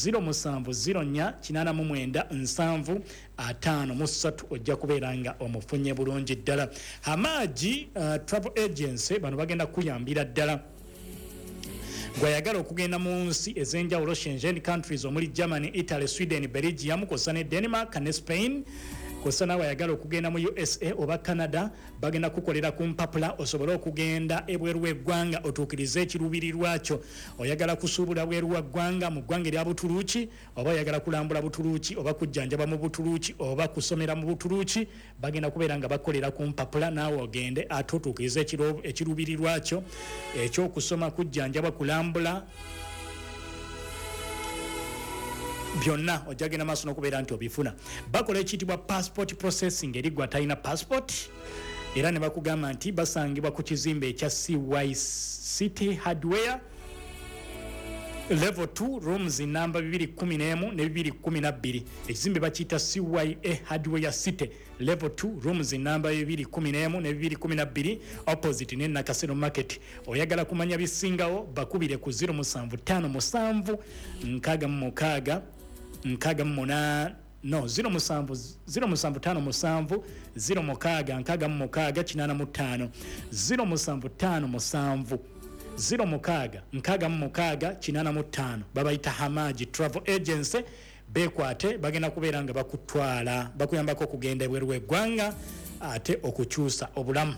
0704 89 7 53, ojja kubeera nga omufunye bulungi ddala. Hamaji Travel Agency, bano bagenda kuyambira ddala gwayagala okugenda mu nsi ez'enjawulo, Schengen countries, omuli Germany, Italy, Sweden, Belgium, kwossa ne Denmark ne Spain, kwossa naawe ayagala okugenda mu USA oba Canada. Bagenda kukolera ku mpapula osobole okugenda ebweru w'eggwanga otuukirize ekiruubirirwa kyo. Oyagala kusuubula bweru wa ggwanga, mu ggwanga erya Butuluuki, oba oyagala kulambula Butuluuki, oba kujjanjaba mu Butuluuki, oba kusomera mu Butuluuki, bagenda kubeera nga bakolera ku mpapula naawe ogende ate otuukirize ekiruubirirwa kyo ekyokusoma, kujjanjaba, kulambula, byonna ojja genda maaso n'okubeera nti obifuna. Bakola ekiyitibwa passport processing eri gwe atalina passport, era ne bakugamba nti basangibwa ku kizimbe ekya CY City Hardware, level 2, rooms namba 211 ne 212. Ekizimbe bakiyita CYA Hardware City, level 2, rooms namba 211 ne 212, opposite ne Nakasero Market. Oyagala kumanya bisingawo, bakubire ku 0757 66 68, no, 07 0757 06 66 85, 0757 06 66 85. Babayita Hamaji Travel Agency. Bekwate, bagenda kubeera nga bakutwala, bakuyambako okugenda ebweru w'eggwanga ate okukyusa obulamu.